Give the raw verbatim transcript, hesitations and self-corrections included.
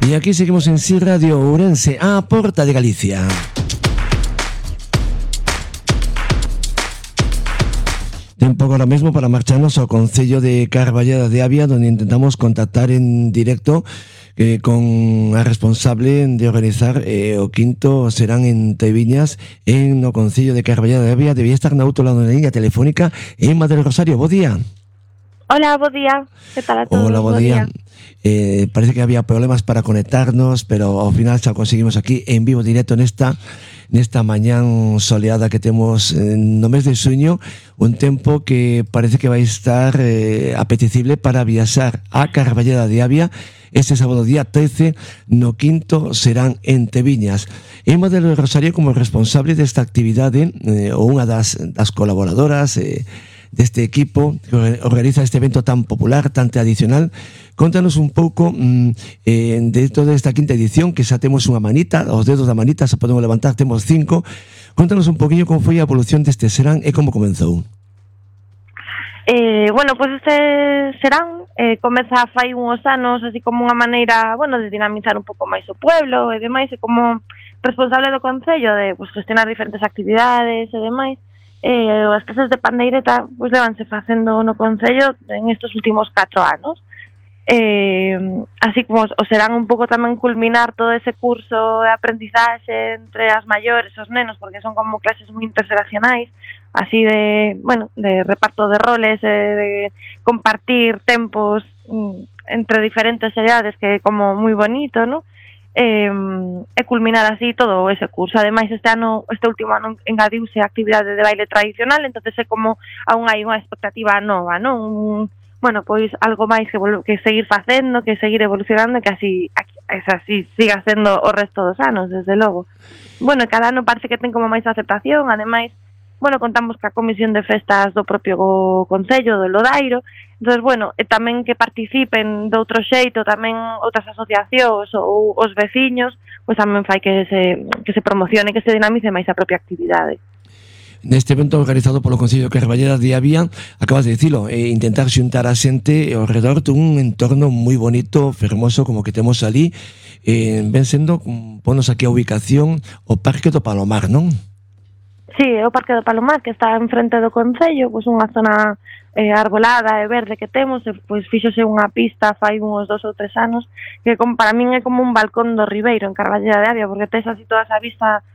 E aquí seguimos en Si Radio Ourense, a porta de Galicia. Tempo agora mesmo para marcharnos ao Concello de Carballeda de Avia, onde intentamos contactar en directo eh, con a responsable de organizar eh, o quinto serán en Teviñas en no Concello de Carballeda de Avia. Debía estar na outro lado da liña telefónica en Madre Rosario. Bo día. Hola, bo día. Que tal a todos? Hola, bo día. Eh, parece que había problemas para conectarnos, pero ao final xa conseguimos aquí en vivo directo nesta nesta mañán soleada que temos eh, no mes de xuño, un tempo que parece que vai estar eh, apetecible para viaxar a Carballeda de Avia este sábado día trece, no quinto serán en Teviñas. Emma del Rosario, como responsable desta actividade, eh, ou unha das, das colaboradoras eh, deste equipo que organiza este evento tan popular, tan tradicional, contanos un pouco mm, eh, de toda esta quinta edición, que xa temos unha manita, os dedos da manita xa podemos levantar, temos cinco. Contanos un poquinho como foi a evolución deste serán e como comenzou. Eh, bueno, pois pues este serán eh, comeza fai uns anos así como unha maneira, bueno, de dinamizar un pouco máis o pueblo e demais, e como responsable do Concello de pues, gestionar diferentes actividades e demais. Eh, as casas de pandeireta pues, levanse facendo no Concello en estes últimos catro anos. Eh, así como o serán un pouco tamén culminar todo ese curso de aprendizaxe entre as maiores e os nenos, porque son como clases moi interxeracionais, así de, bueno, de reparto de roles, eh, de compartir tempos mm, entre diferentes edades, que é como moi bonito, ¿no? Eh, e culminar así todo ese curso. Ademais, este ano, este último ano engadiuse a actividade de baile tradicional, entonces é como aún hai unha expectativa nova, non? Un, bueno, pois algo máis que, que seguir facendo, que seguir evolucionando, que así, así siga sendo o resto dos anos, desde logo. Bueno, cada ano parece que ten como máis aceptación, ademais, bueno, contamos ca comisión de festas do propio Concello, do Lodairo, entonces, bueno, e tamén que participen de outro xeito, tamén outras asociacións ou os veciños, pois tamén fai que se, que se promocione, que se dinamice máis a propia actividade. Neste evento organizado polo Concello de Carballeda de Avia, acabas de dicilo, eh, intentar xuntar a xente ao redor dun entorno moi bonito, fermoso, como que temos ali, eh, ven sendo, ponos aquí a ubicación, o Parque do Palomar, non? Sí, é o Parque do Palomar, que está enfrente do Concello, pois unha zona eh, arbolada e verde que temos, e pois fíxose unha pista fai uns dos ou tres anos, que como, para min é como un balcón do Ribeiro en Carballeda de Avia, porque tes así toda esa vista